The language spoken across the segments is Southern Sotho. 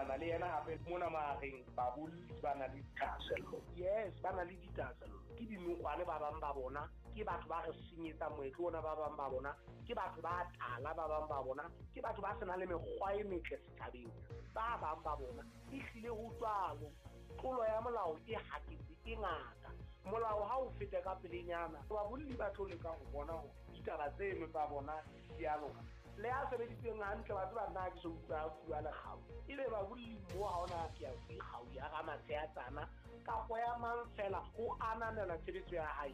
dumellana le yena hape mona mahareng babolli ba na le dithahasello. Yes, ba na le dithahasello. Ke dinokwane ba bang ba bona, ke batho ba re senyetsang moetlo ona ba bang ba bona, ke batho ba tala ba bang ba bona, ke batho ba senang le mekgwa e metle setjhabeng ba bang ba bona. Ehlile ho jwalo. Tlolo ya molao e haketse e ngata. Molao ha o fete ka pelenyana, babolli ba tlo leka ho bona hore ditaba tseno tsa bona di a loka. Le ya sebeditseng hantle wa tseba nna ha ke so utlwa a fuwa lekgau. Ebe babolli mo ha ona ke ya kgau ya Ramatsheatsana kapo ya mang fela ho ananela tshebetso ya hae.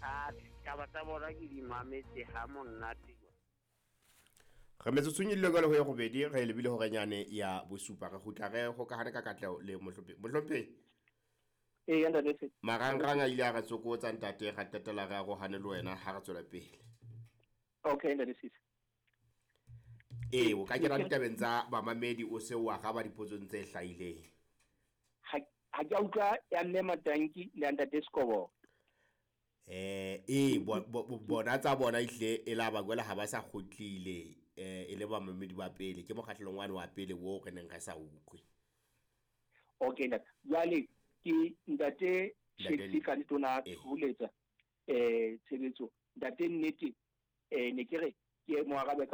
A taba tsa bona ke di mametse ha monate. Re metsotsong e lileng ho ya robedi re lebile horenyane ya bosupa re kgutla re hokahane ka katleho le mohlomphehi. Mohlomphehi. Ee, ntate se. Marangrang a ile a re tsokotsa ntate ra qetela re arohane le wena ha re tswela pele. Okay, ntate Sisi. Ee, o ka kena ditabeng tsa bamamedi o se o araba dipotsong tse hlahileng. Ha ke a utlwa ya mme Matanki le ya ntate Sekobo. Ee, bona tsa bona ehlile e la ba jwale ha ba sa kgutlile e le bamamedi ba pele ke mokgahlelong wane wa pele wo re neng re sa utlwe. Okay ntate. Jwale ke ntate Shakespeare ka ntona tsholetsa tshebetso. Ntate nnete ne ke re ke mo arabe ka